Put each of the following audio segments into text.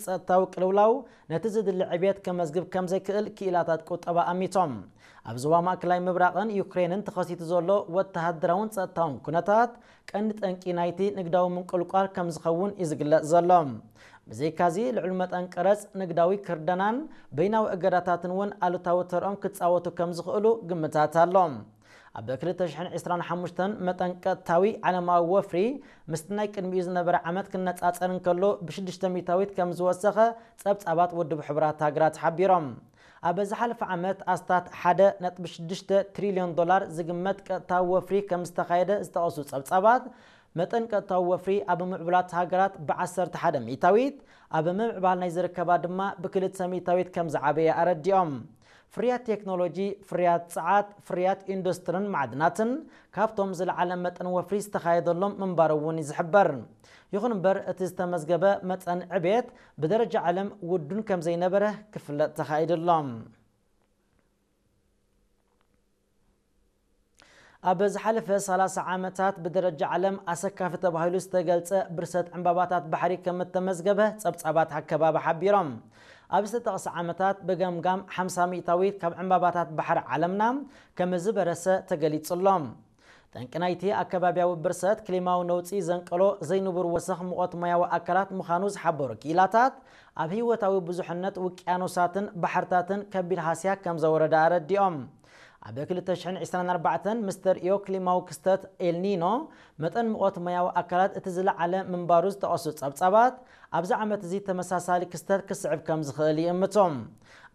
ጸጥታዊ ቅልውላው ነቲ ዝድሊ ዕብየት ከመዝግብ ከም ዘይክእል ክኢላታት ቁጠባ ኣሚቶም። ኣብ ዞባ ማእከላይ ምብራቕን ዩክሬንን ተኸሲቱ ዘሎ ወተሃደራውን ጸጥታውን ኩነታት ቀንዲ ጠንቂ ናይቲ ንግዳዊ ምንቁልቋል ከም ዝኸውን እዩ ዝግለጽ ዘሎ። ብዘይካዚ፣ ልዑል መጠን ቀረጽ፣ ንግዳዊ ክርደናን በይናዊ እገዳታትን እውን ኣሉታዊ ተርኦም ክጻወቱ ከም ዝኽእሉ ግምታት ኣሎ። ኣብ ክልተ ሽሕን ዕስራን ሓሙሽተን መጠን ቀጥታዊ ዓለማዊ ወፍሪ ምስቲ ናይ ቅድሚኡ ዝነበረ ዓመት ክነጻጸር እንከሎ ብሽዱሽተ ሚእታዊት ከም ዝወሰኸ ጸብጻባት ውድብ ሕቡራት ሃገራት ሓቢሮም። ኣብ ዝሓለፈ ዓመት ኣስታት ሓደ ነጥቢ ሽዱሽተ ትሪልዮን ዶላር ዝግመት ቀጥታዊ ወፍሪ ከም ዝተኻየደ ዝጠቐሱ ጸብጻባት፣ መጠን ቀጥታዊ ወፍሪ ኣብ ምዕቡላት ሃገራት ብዓሰርተ ሓደ ሚእታዊት፣ ኣብ ምምዕባል ናይ ዝርከባ ድማ ብክልተ ሚእታዊት ከም ዝዓበየ ኣረዲኦም። ፍርያት ቴክኖሎጂ፣ ፍርያት ጸዓት፣ ፍርያት ኢንዱስትርን ማዕድናትን ካብቶም ዝለዓለ መጠን ወፍሪ ዝተኻየደሎም ምንባሩ እውን እዩ ዝሕበር። ይኹን እምበር፣ እቲ ዝተመዝገበ መጠን ዕብየት ብደረጃ ዓለም ውዱን ከም ዘይነበረ ክፍለጥ ተኻኢዱ ኣሎ። ኣብ ዝሓለፈ ሰላሳ ዓመታት ብደረጃ ዓለም ኣሰካፊ ተባሂሉ ዝተገልጸ ብርሰት ዕምባባታት ባሕሪ ከም እተመዝገበ ጸብጻባት ኣከባቢ ሓቢሮም። ኣብ ዝተጠቕሰ ዓመታት ብገምጋም ሓምሳ ሚእታዊት ካብ ዕምባባታት ባሕሪ ዓለምና ከም ዝበረሰ ተገሊጹ ኣሎ። ጠንቂ ናይቲ ኣከባብያዊ ብርሰት ክሊማዊ ነውጺ ዘንቀሎ ዘይንቡር ወሰኽ ሙቐት ማያዊ ኣካላት ምዃኑ ዝሓበሩ ክኢላታት፣ ኣብ ህይወታዊ ብዙሕነት ውቅያኖሳትን ባሕርታትን ከቢድ ሃስያ ከም ዘወረደ ኣረዲኦም። ኣብ ክልተ ሽሕን ዕስራን ኣርባዕተን ምስ ተርእዮ ክሊማዊ ክስተት ኤልኒኖ፣ መጠን ሙቐት ማያዊ ኣካላት እቲ ዝለዓለ ምንባሩ ዝጠቐሱ ጸብጻባት፣ ኣብዚ ዓመት እዚ ተመሳሳሊ ክስተት ክስዕብ ከም ዝኽእል ይእምቱ።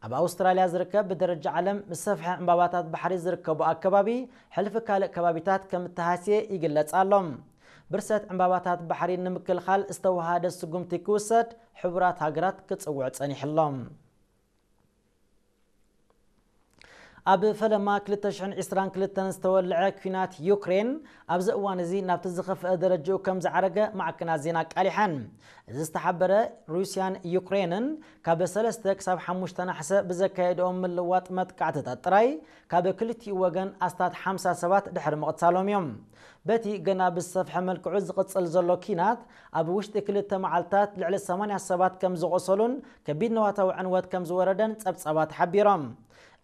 ኣብ ኣውስትራልያ ዝርከብ ብደረጃ ዓለም ዝሰፍሐ ዕምባባታት ባሕሪ ዝርከቦ ኣከባቢ፣ ሕልፊ ካልእ ከባቢታት ከም እተሃስየ ይግለጽ ኣሎ። ብርሰት ዕምባባታት ባሕሪ ንምክልኻል ዝተወሃደ ስጉምቲ ክውሰድ ሕቡራት ሃገራት ክጽውዕ ጸኒሑ ኣሎ። ኣብ ፈለማ ክልተ ሽሕን ዕስራን ክልተን ዝተወልዐ ኲናት ዩክሬን፣ ኣብዚ እዋን እዚ ናብቲ ዝኸፍአ ደረጃኡ ከም ዝዓረገ ማዕከናት ዜና ኣቃሊሐን። እዚ ዝተሓበረ፣ ሩስያን ዩክሬንን ካብ ሰለስተ ክሳብ ሓሙሽተ ናሕሰ ብዘካየድኦም ምልዋጥ መጥቃዕትታት ጥራይ፣ ካብ ክልቲኡ ወገን ኣስታት ሓምሳ ሰባት ድሕሪ ምቕታሎም እዮም። በቲ ገና ብዝሰፍሐ መልክዑ ዝቕጽል ዘሎ ኲናት፣ ኣብ ውሽጢ ክልተ መዓልታት ልዕሊ ሰማንያ ሰባት ከም ዝቖሰሉን ከቢድ ንዋታዊ ዕንወት ከም ዝወረደን ጸብጻባት ሓቢሮም።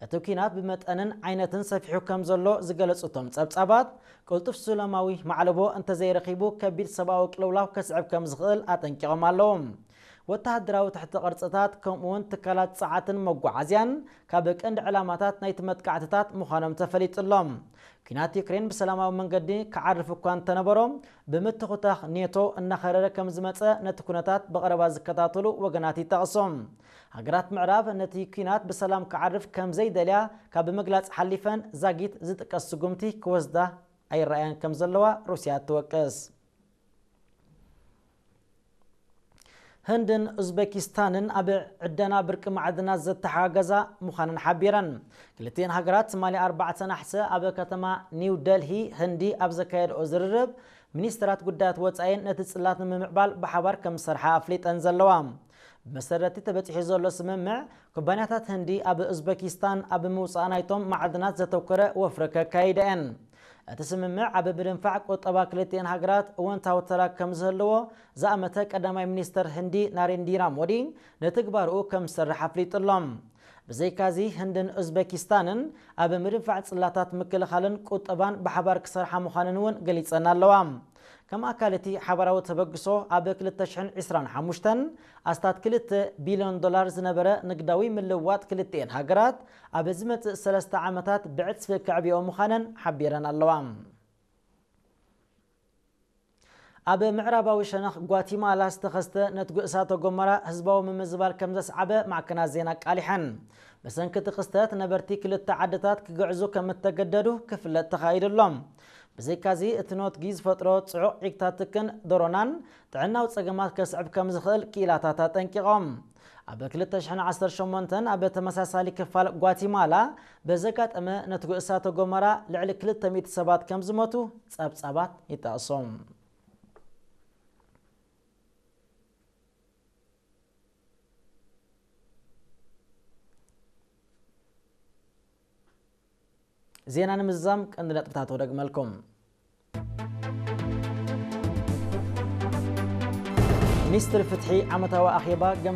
እቲ ኲናት ብመጠንን ዓይነትን ሰፊሑ ከም ዘሎ ዝገለጹ እቶም ጸብጻባት፣ ቅልጡፍ ሰላማዊ ማዕለቦ እንተዘይረኺቡ ከቢድ ሰብኣዊ ቅልውላው ከስዕብ ከም ዝኽእል ኣጠንቂቖም ኣለዉ። ወተሃደራዊ ትሕቲ ቅርጽታት፣ ከምኡ'ውን ትካላት ጸዓትን መጓዓዝያን ካብ ቀንዲ ዕላማታት ናይቲ መጥቃዕትታት ምዃኖም ተፈሊጡ ኣሎ። ኲናት ዩክሬን ብሰላማዊ መንገዲ ክዓርፍ እኳ እንተነበሮ፣ ብምትኹታኽ ኔቶ እናኸረረ ከም ዝመጸ ነቲ ኩነታት ብቐረባ ዝከታተሉ ወገናት ይጠቕሱ። ሃገራት ምዕራብ ነቲ ኲናት ብሰላም ክዓርፍ ከም ዘይደልያ ካብ ምግላጽ ሓሊፈን፣ ዛጊት ዝጥቀስ ስጉምቲ ክወስዳ ኣይረኣያን ከም ዘለዋ ሩስያ ትወቅስ። ህንድን ኡዝቤኪስታንን ኣብ ዕደና ብርቂ ማዕድናት ዘተሓጋገዛ ምዃነን ሓቢረን። ክልቲኤን ሃገራት ትማሊ ኣርባዕተ ናሕሰ ኣብ ከተማ ኒው ደልሂ ህንዲ ኣብ ዘካየድኦ ዝርርብ፣ ሚኒስትራት ጉዳያት ወጻኢን ነቲ ጽላት ንምምዕባል ብሓባር ከም ዝሰርሓ ኣፍሊጠን ዘለዋ። ብመሰረቲ ተበጺሑ ዘሎ ስምምዕ፣ ኩባንያታት ህንዲ ኣብ ኡዝቤኪስታን ኣብ ምውጻእ ናይቶም ማዕድናት ዘተኮረ ወፍሪ ከካይዳ እየን። እቲ ስምምዕ ኣብ ምድንፋዕ ቁጠባ ክልቲኤን ሃገራት እወንታዊ ተራ ከም ዝህልዎ ዝኣመተ ቀዳማይ ሚኒስተር ህንዲ ናሬንዲራ ሞዲ፣ ንትግባርኡ ከም ዝሰርሕ ኣፍሊጡ ኣሎ። ብዘይካዚ፣ ህንድን ኡዝቤኪስታንን ኣብ ምድንፋዕ ጽላታት ምክልኻልን ቁጠባን ብሓባር ክሰርሓ ምዃነን እውን ገሊጸን ኣለዋ። ከም ኣካል እቲ ሓባራዊ ተበግሶ፣ ኣብ ክልተ ሽሕን ዕስራን ሓሙሽተን ኣስታት ክልተ ቢልዮን ዶላር ዝነበረ ንግዳዊ ምልውዋጥ ክልቲኤን ሃገራት፣ ኣብ ዝመጽእ ሰለስተ ዓመታት ብዕጽፊ ከዕብዮ ምዃነን ሓቢረን ኣለዋ። ኣብ ምዕራባዊ ሸነኽ ጓቲማላ ዝተኸስተ ነትጒ እሳተ ጎመራ ህዝባዊ ምምዝባል ከም ዘስዓበ ማዕከናት ዜና ኣቃሊሐን። ብሰንኪ እቲ ክስተት፣ ነበርቲ ክልተ ዓድታት ክግዕዙ ከም እተገደዱ ክፍለጥ ተኻኢዱ ኣሎ። ብዘይካዚ፣ እቲ ነትጒ ዝፈጥሮ ጽዑቕ ዒግታት ትክን ዶሮናን ጥዕናዊ ጸገማት ከስዕብ ከም ዝኽእል ክኢላታት ኣጠንቂቖም። ኣብ ክልተ ሽሕን ዓሰርተ ሸሞንተን ኣብ ተመሳሳሊ ክፋል ጓቲማላ ብዘጋጠመ ነትጒ እሳተ ጎመራ ልዕሊ ክልተ ሚእቲ ሰባት ከም ዝሞቱ ጸብጻባት ይጠቕሱ። ዜና ንምዝዛም ቀንዲ ነጥብታት ወደግመልኩም። ሚኒስትሪ ፍትሒ ዓመታዊ ኣኼባ